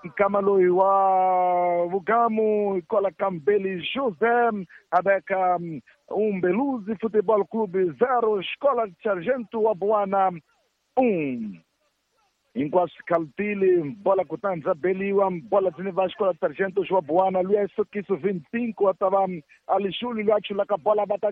Nkama loyi wa Vugamu kwala ka Mbeli José a veka Umbeluzi Futebol Clube 0, Escola de Sargento wa Buana 1. Hinkwaswo khalutile bola kutani bya beliwa bola byi ni va xikola Sargento wa Buana luya Sokiso 25 a ta va Alixuli luya chulaka bola va ta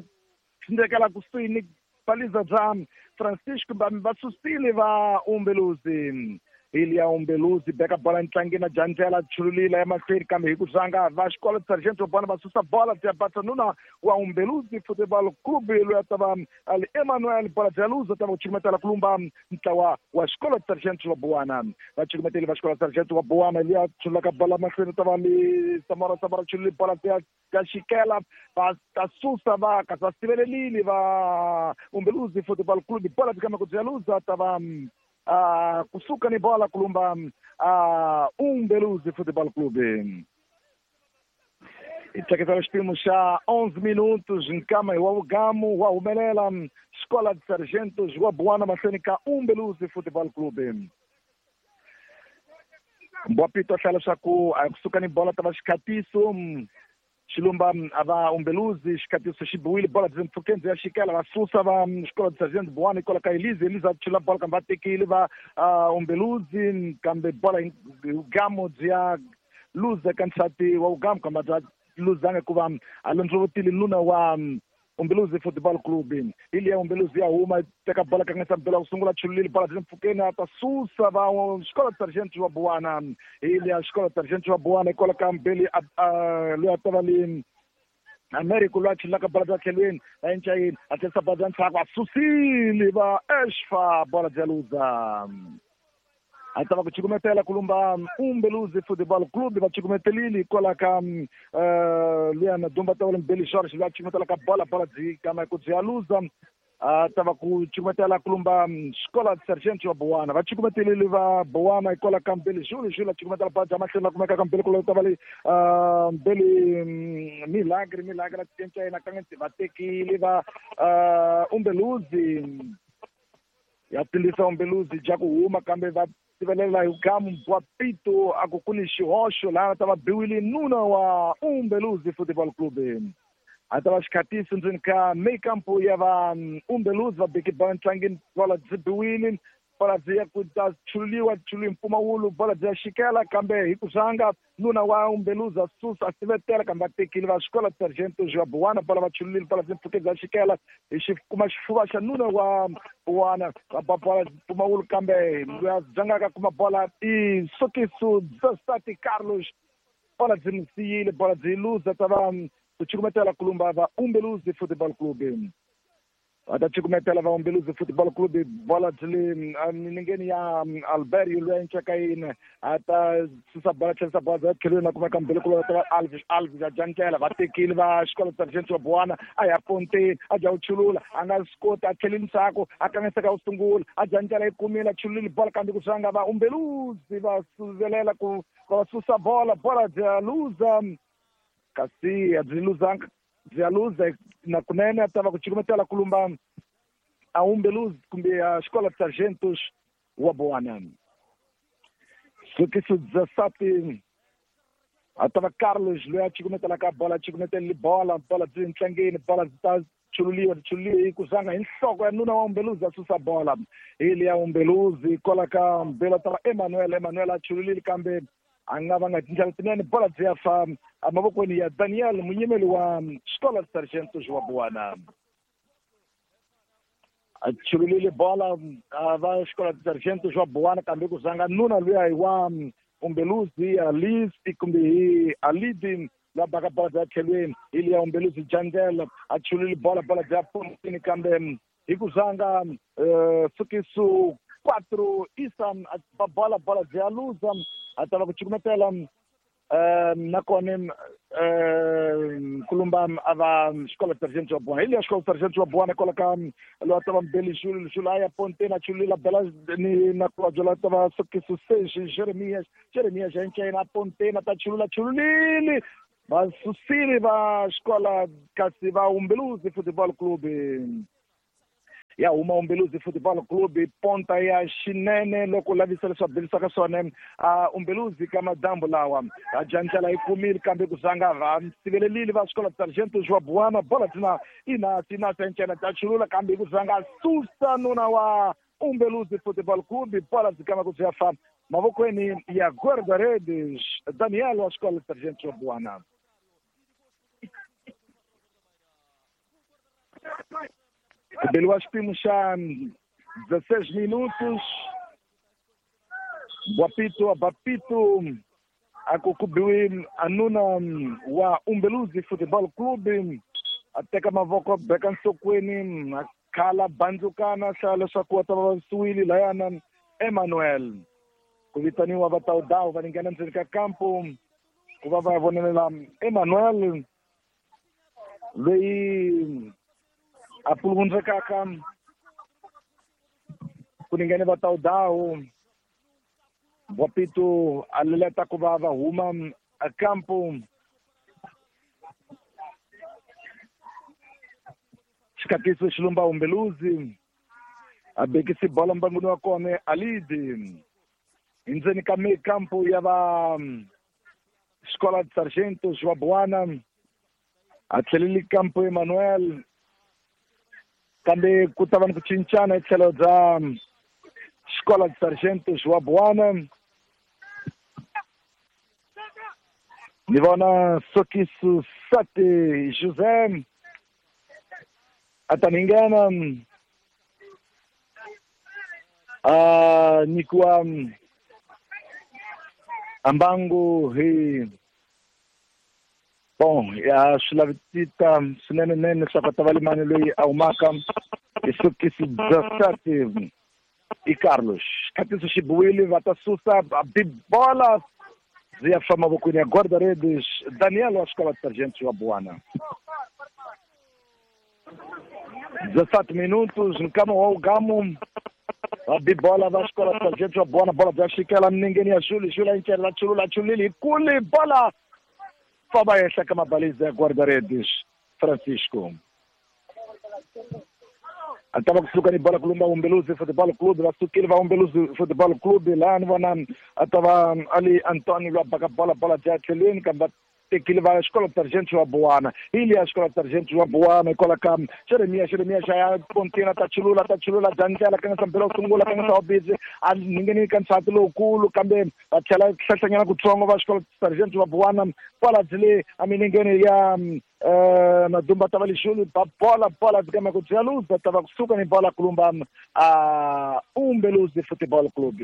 tsindzekela kusuhi ni baliza bya Francisco va susile va Umbeluzi. Ili ya Umbeluzi beka bola ntlangeni na Jandlela chululila emahlweni kambe hi ku zanga va xikolo Sargento Bona va susa bola bya Batsanuna wa Umbeluzi Football Club loyi a ta va ali Emmanuel bola bya luza ta va ku chukumetela kulumba ntlawa wa xikolo Sargento wa Buwana va chukumeteli va xikolo Sargento wa Buwana luya chululaka bola mahlweni ta va li Samora Samora chululi bola bya ka xikela va ta susa va kasi va sivelelile va Umbeluzi Football Club bola byi kama ku bya luza ta va kusuka ni bola kulumba Umbeluzi Futebol Clube. Hi xipimo xa 11 minutos nkama hi wa Vugamu wa humelela Escola de Sargentos wa Buana mahlweni ka Umbeluzi Futebol Clube. Mbwapito hlaya leswaku a kusuka ni bola ta va xikhatiso xilumba a va Umbeluzi xikhatiso xi biwile bola byi mpfhukeni byi ya xikela va susa va xikolo de Sargento Buwana hikwalaho ka Elise Elise a chula bola kambe va tekile va Umbeluzi kambe bola Vugamu byi ya luza ka nsati wa Vugamu kambe bya luzanga hikuva a londzovotile nuna wa Umbeluzi Football Club. Ili ya Umbeluzi ya huma teka bola kangisa mbela ku sungula chululile bola byi mpfhukeni a ta susa va xikolo Sargento wa Buwana. Ili ya xikolo Sargento wa Buwana hikwalaho ka Mbeli loyi a ta va li Americo loyi a chululaka bola bya tlhelweni va encayeni a tlherisa bola bya ndzhaku a susile va Eshfa bola bya luza. A ta va ku chukumetela kulumba Umbeluzi Football Club va chukumetelile hikwalaho ka luya na dumba ta Mbeli George loyi a chukumetela ka bola bola byi kama ku byi ya luza a ta va ku chukumetela kulumba Escola de Sargento wa Buwana va chukumetelile va Buwana hikwalaho ka Mbeli Jules Jules a chukumetela bola bya mahlweni va kumeka ka Mbeli kulo ta va le Mbeli Milagre Milagre a cinca yena ka va tekile va Umbeluzi ya tilisa Umbeluzi ja ku huma kambe va sivelela hi Vugamu wa Pito a ku ku ni xihoxo laha ta va biwile nuna wa Umbeluzi Football Club. A ta va xikhatiso ndzeni ka mekampo ya va Umbeluzi va beki bola ntlangeni bola byi biwile bola byi ya ku ta chululiwa chululiwe mpfumawulo bola byi ya xikela kambe hi ku zanga nuna wa Umbeluzi a susa a sivetela kambe va tekile va xikolo Sargento wa Buwana bola va chululile bola byi mpfhuke bya xikela hi xi kuma xifuva xa nuna wa Buwana va ba bola mpfumawulo kambe loyi a dzangaka kuma bola i Sokiso Zastati Carlos bola byi n'wi siyile bola byi luza ta va ku chukumetela kulumba va Umbeluzi Football Club. Va ta chukumetela va Umbeluzi Football Club bola byi le milengeni ya Alberio loyi a encaka yini a ta susa bola tlherisa bola bya tlhelweni a kumeka Mbeli kulo ta va Alves Alves a dya ndlela va tekile va xikolo Sargento wa Buwana a ya ponteni a dya ku chulula a nga swi koti a tlheleli ndzhaku a kangiseka ku sungula a dya ndlela yi kumile a chululile bola kambe ku swanga va Umbeluzi va suvelela ku va susa bola bola bya luza kasi a byi luzanga byi ya luza na kunene a ta va ku chukumetela kulumba a Umbeluzi kumbe a Escola de Sargentos wa Buwana. Sokiso Zasati a ta va Carlos loyi a chukumetelaka bola a chukumetelile bola bola byi ntlangeni bola byi ta chululiwa chululiwe hi ku zanga hi nhloko ya nuna wa Umbeluzi a susa bola hi ya Umbeluzi kwala ka Mbela ta va Emmanuel Emmanuel a chululile kambe a nga va nga tindlela tinene bola byi ya fa emavokweni ya Daniel munyimeli wa Escola de Sargentos wa Buwana. A chululile bola va Escola de Sargentos wa Buwana kambe ku zanga nuna luya hi wa Umbeluzi Alice kumbe hi Alidi la baka bola bya tlhelweni hi liya Umbeluzi Jandela a chulile bola bola bya pontini kambe hi ku zanga Sukiso 4 Isa a bola bola bya luza a ta va ku chukumetela nakona kulumba a va Escola de Sargento wa Buwana hi liya Escola de Sargento wa Buwana kwala ka loyi a ta va Mbeli Jules Jules a ya ponteni a chulula bela ni na kulobye loyi a ta va Sokiso 6 Jeremias Jeremias a encayina a ponteni a ta chulula chululile va susile va xikola kasi va Umbeluzi Football Club. Ya huma Umbeluzi Football Club ponta ya xinene loko lavisa leswi va belisaka swona Umbeluzi ka madyambu lawa a jandlela yi kumile kambe ku zanga va sivelelile va xikolo Sargento João Buana bola tina ina sencena ta chulula kambe ku zanga susa nuna wa Umbeluzi Football Club bola dzikama ku bya fa mavokweni ya guarda-redes Daniel wa xikolo Sargento João Buana. Beliwa xipimo xa 16 minutos. Bwapito Bapito akukubiwi anuna wa Umbeluzi Football Club a teka mavoko beka nhlokweni a khala bandzukana hlaya leswaku va ta va vavisiwile layana Emmanuel ku vitaniwa va tawudawu va nghena ndzeni ka kampo ku va va vonelela Emmanuel loyi a puluvundzekaka ku ningene va tawudawu Bwapito a leleta ku va va huma kampo xikatiso xilumba Umbeluzi a bekisi bola mbanguni wa kona Alidi endzeni ka kampo ya va Escola de Sargento João Buana a tlheleli kampo Emmanuel kambe ku ta va ni ku cincana hi tlhelo bya Escola de Sargento João Buana ni vona Sokiso Sate José a ta ni nghena a nyikiwa ambangu hi bon ya swi lavisita swinene nene leswaku a ta va limani loyi a humaka hi Sokiso Sate i Carlos xikatiso xi biwile va ta susa bibola byi ya fa mavokweni ya guarda-redes Daniel wa xikolo Sargento wa Buana. 17 minutos nkama wa ugamu va bibola va xikolo Sargento wa Buana bola bya xikela minengeni ya Juli Juli a yincela chulula chulile hi kuli bola famba henhla ka mabaliza ya guarda-redes Francisco a ta va kusuka ni bola kulumba Umbeluzi Football Club va sukile va Umbeluzi Football Club laha ni vona a ta va ali Antonio lwa baka bola bola bya tlhelweni kambe va tekile va xikolo Sargento wa Buana hi liya xikolo Sargento wa Buana hikwalaho ka Jeremia Jeremia xa ya pontina ta chulula bya ndlela ka nga mbela sungula ka nga sa busy a ningeni ka nsati lowukulu kambe va tlhela hlahlanyana kutsongo va xikolo Sargento wa Buana bola byi le aminingeni ya Madumba ta va lixulu ba bola bola dzikama ku bya luza ta va kusuka ni bola kulumba a Umbeluzi Football Club.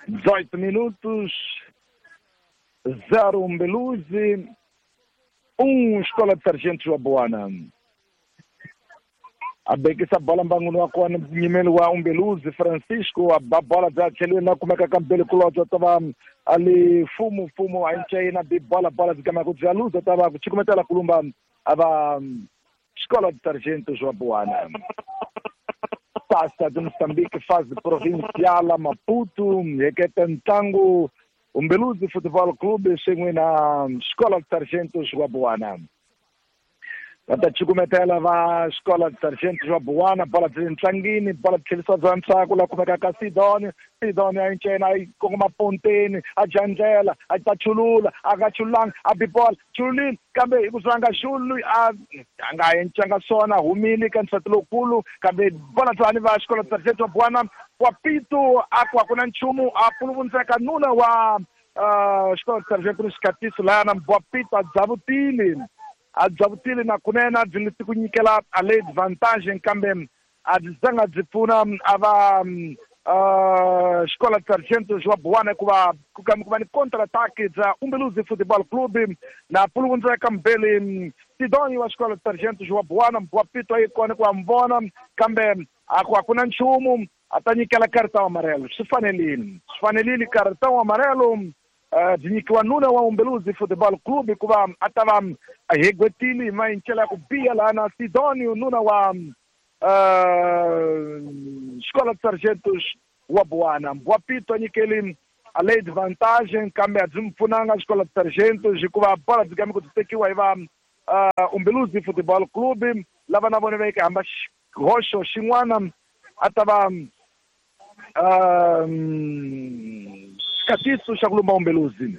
18 minutos, 0 Umbeluzi, 1 Escola de Sargento João Buana. A bekisa bola mbanguni wa kona nyimeli wa Umbeluzi Francisco a ba bola bya tlhelweni na kumeka ka mbele kulobye ta va ali fumu fumu a ncayina bi bola bola dzikama ku bya luza ta va ku chikumetela kulumba a va Escola de Sargento João Buana. Taça de Moçambique, fase provincial Maputo, heketa ntlangu Umbeluzi Football Club swin'we na Escola de Sargento João Buana. Va ta cukumetela va Escola de Sargento João Buana bola byi ntlangini bola tlhelisa bya ntsako la kumeka ka Sidoni Sidoni a yincena a yi kongoma ponteni a jandlela a ta chulula a nga chululanga a bi bola chululile kambe hi ku zanga xulu a nga encanga swona humile ka nsati lowukulu kambe bola tsani va Escola de Sargento João Buana wa Pito a ku a ku na nchumu a puluvundzeka nuna wa Escola de Sargento ni xikatiso layana wa Pito a dzavutile a dzavutile na kunene a byi leti ku nyikela a le advantage kambe a byi zanga byi pfuna a va Escola de Sargento João Buana hikuva ku kambe ku va ni counter attack bya Umbeluzi Football Club na puluvundzeka mbele Sidoni wa Escola de Sargento João Buana wa Pito a yi kona ku va mi vona kambe a ku a ku na nchumu a ta nyikela cartão amarelo swi fanelile cartão amarelo byi nyikiwa nuna wa Umbeluzi Football Club hikuva a ta va a hegwetile hi mayincela ya ku biha laha na Sidonio nuna wa Escola de Sargentos wa Buana wa Pito a nyikeli a le advantage kambe a byi mi pfunanga Escola de Sargentos hikuva bola byi kame ku byi tekiwa hi va Umbeluzi Futebol Clube lava na vona va yeke hamba xihoxo xin'wana a ta va xikatiso xa ku lumba Umbeluzi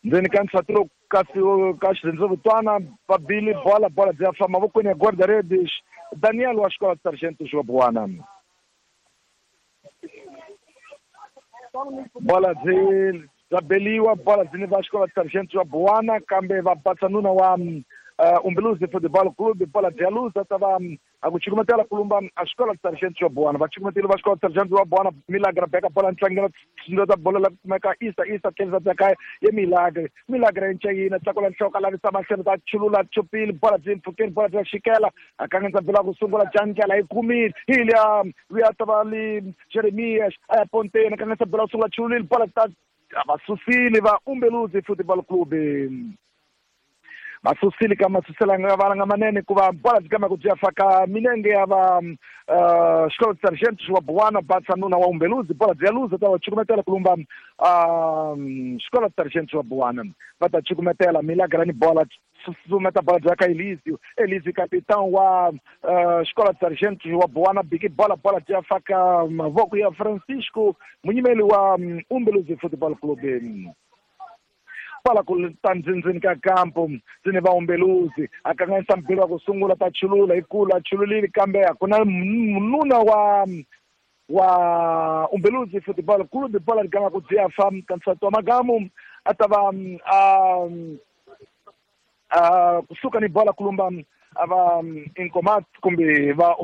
ndzeni ka nsatilo kasi ka xirhendzevutwana va bile bola bola byi ya fa mavokweni ya guarda-redes Daniel wa xikolo Sargento Joabuana bola byi bya beliwa bola byi ni va xikolo Sargento Joabuana kambe va batsa nuna wa Umbeluzi Football Club bola byi ya luza ta va a ku cukumetela kulumba a xikolo Sargento Joabuana va cukumetile va xikolo Sargento Joabuana Milagre beka bola ntlangela ta bola la kumeka isa isa tlhelisa ta kaya ye Milagre Milagre ncayina tlakula nhloko lavisa mahlweni ta chulula chupile bola byi mpfhukeni bola bya xikela a kanganyisa bola ku sungula jandlela yi kumile hi liya luya ta va li Jeremias a ya ponteni a kanganyisa bola ku sungula chululile bola ta va susile va Umbeluzi Football Club va susile ka masuselanga valanga manene hikuva bola byi kama ku byi ya faka milenge ya va xikolo Sargento wa Buwana batsa nuna wa Umbeluzi bola byi ya luza ta va cukumetela ku lumba xikolo Sargento wa Buwana va ta cukumetela Milagre ni bola susumeta bola bya ka Elizio Elizio capitão wa xikolo Sargento wa Buwana biki bola bola byi ya faka mavoko ya Francisco munyimeli wa Umbeluzi Football Club bola ku ta ndzindzini ka kampo ndzini va Umbeluzi a kanganyisa mbilo wa ku sungula ta chulula hi kulu a chululile kambe a ku na nuna wa Umbeluzi Football Club bola ri gama ku byi fa ka nsati wa magamu a ta va a kusuka ni bola kulumba a va Incomat kumbe va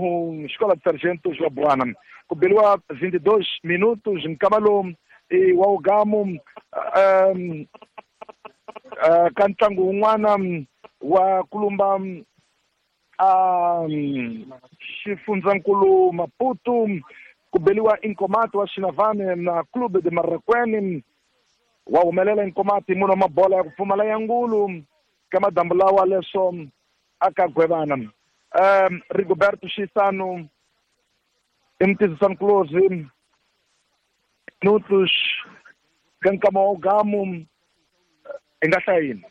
xikolo Sargento Joabuana ku beliwa 22 minutos nkama lowu wa ugamu ka ntlangu wun'wana wa kulumba xifundzankulu Maputo ku beliwa Incomat wa Xinavane na Clube de Marraquene wa humelela Incomat munhu wa mabola ya ku pfumala ya ngulu ka madambu lawa leswo aka gwevana Rigoberto Xisano i mutizisani kulozi minutos ka nkama wa ugamu i nga hlaya yini?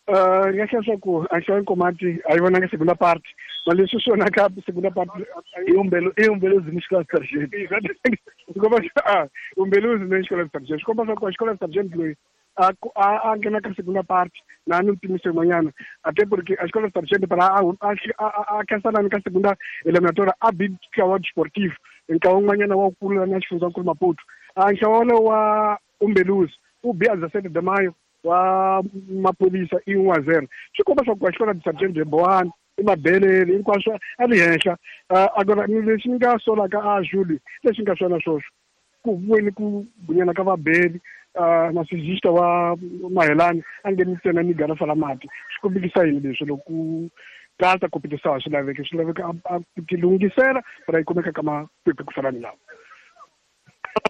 Ni nga hlaya swa ku a hlaya Nkomati a yi vonanga segunda part ma leswi swi vonaka segunda part i Umbeluzi ni xikolo Sargento swi komba Umbeluzi ni xikolo Sargento swi komba swa ku xikolo Sargento loyi a nghena ka segunda part na ni timise yin'wanyana até porque a xikolo Sargento para a khensanani ka segunda eliminatoria a bi ntlawa desportivo ntlawa wun'wanyana wa kula na xifundzankulu Maputo a ntlawa wolowo wa Umbeluzi u bi a 17 de maio wa maphorisa i 1-0 swi komba swa ku a xikolo Sargento Bowana i mabelele hinkwaswo a ri henhla agora lexi ni nga solaka a Julie lexi nga swona swoswo ku vweni ku bunyana ka vabeli na sijista wa Mahelani a nge ntsena ni garafa la mati swi kombekisa yini leswi loko ku tata competição swi laveka swi laveka a ti lunghisela para yi kumeka ka makwekwe ku fana ni lawa.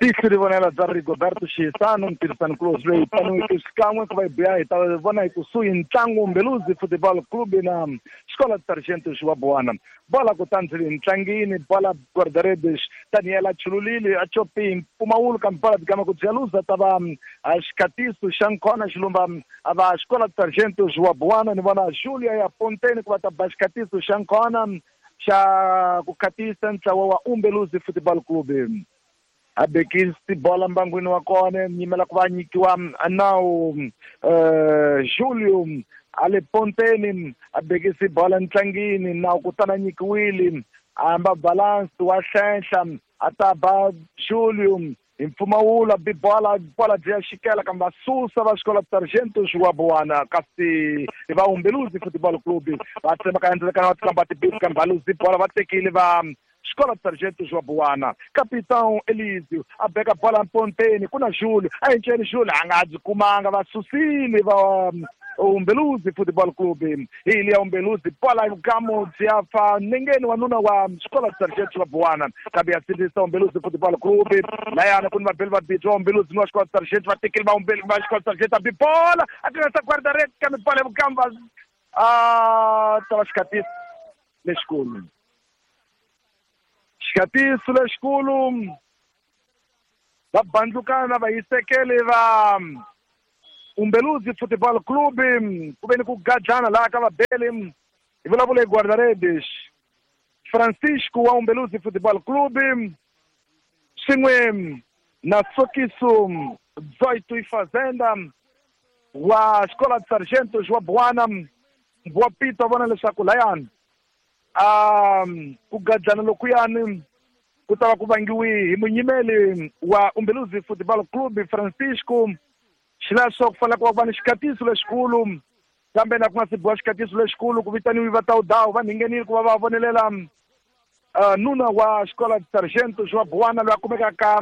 Tisi ri vonela bya Rigoberto Xisano mtirhisani kulozi loyi paniweke xikan'we ku va hi buya hi ta vona hi kusuhi ntlangu Umbeluzi Football Club na xikolo Sargento Xiwabuwana bola kutani ndzi ntlangini bola guarda-redes Daniel a chululile a chopi mpfumawulo kambe bola byi gama ku bya luza ta va xikhatiso xa nkhona xilumba a va xikolo Sargento Xiwabuwana ni vona Julia ya Ponteni ku va ta ba xikhatiso xa nkhona xa ku khatisa ntlawa wa Umbeluzi Football Club a bekisi bola mbangwini wa kona nyimela ku va nyikiwa nawu Julio a le Ponteni a bekisi bola ntlangini nawu kutani a nyikiwile a hamba balance wa hlenhla a ta ba Julio hi mpfumawulo a bi bola bola byi ya xikela kambe va susa va xikolo Sargento Xiwabuwana kasi va Umbeluzi Football Club va tsemaka endzeni va tikamba tibisi kambe va luzi bola va tekile va xikolo Sargento Joabuana capitão Elizio a beka bola mponteni ku na Julio a enceni Julio a nga byi kumanga va susile va Umbeluzi Football Club hi liya Umbeluzi bola gamo byi ya fa nengeni wa nuna wa xikolo Sargento Joabuana kambe ya sindzisa Umbeluzi Football Club layana ku ni vabeli vabirhi va Umbeluzi ni wa xikolo Sargento va tekile va Umbelu va xikolo Sargento a bi bola a tirhisa guarda-redes kambe bola ya vukamba a ta va xikhatiso lexikulu xikhatiso lexikulu va bandlukana va yisekele va Umbeluzi Futebol Clube ku ve ni ku gadlana laha ka vabeli hi vulavula hi guarda-redes Francisco wa Umbeluzi Futebol Clube swin'we na Sokiso Zoito Fazenda wa Escola de Sargentos wa Buana wa Pito vona leswaku layani ku gadlana lokuyani ku ta va ku vangiwi hi munyimeli wa Umbeluzi Football Club Francisco xileswo ku fanele ku va ni xikatiso lexikulu kambe na ku nga si biwa xikatiso lexikulu ku vitaniwi va tawudawu va nghenile ku va va vonelela nuna wa Escola de Sargentos wa Buana loyi a kumekaka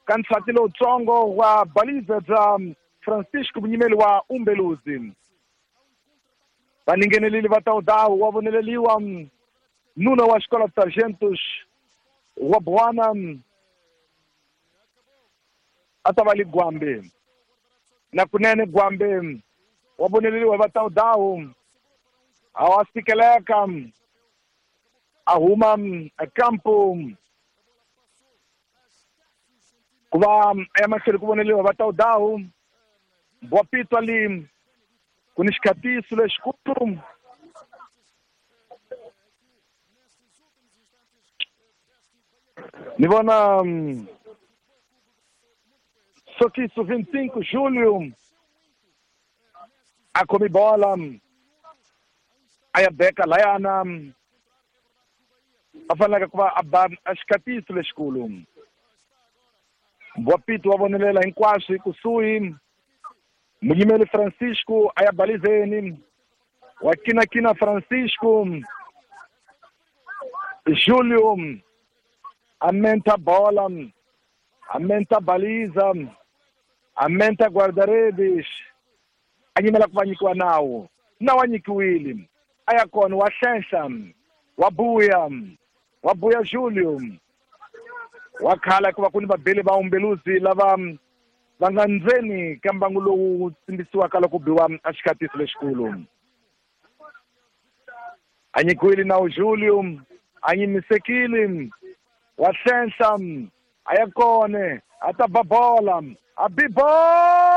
ka nsati lowutsongo wa baliza bya Francisco munyimeli wa Umbeluzi. Va nghenelile va tawudawu wa voneleliwa nuna wa Escola de Sargentos wa Buana a ta va li Gwambe na kunene Gwambe wa voneleliwa va tawudawu a wa sikeleka a huma campo ku va ya mahlweni ku voneliwa va tawudawu wa Pitwa li ku ni xikatiso lexikulu ni vona Sokiso 25 Julio a khomi bola a ya beka layana a faneleke ku va a ba a xikatiso lexikulu wa Pito wa vonelela hinkwaswo kusuhi munyimeli Francisco a ya balizeni wa kinakina Francisco Julio amenta bola amenta baliza amenta guarda-redes a nyimela ku va nyikiwa nawu nawu a nyikiwile a ya kona wa hlenhla wa buya Julio wa khala ku va ku ni vabeli va Umbeluzi lava va nga ndzeni ka mbangu lowu tsimbisiwaka loko biwa a xikatiso lexikulu a nyikiwile nawu Julio a nyimisekile wa hlenhla a ya kone a ta ba bola a bi bola.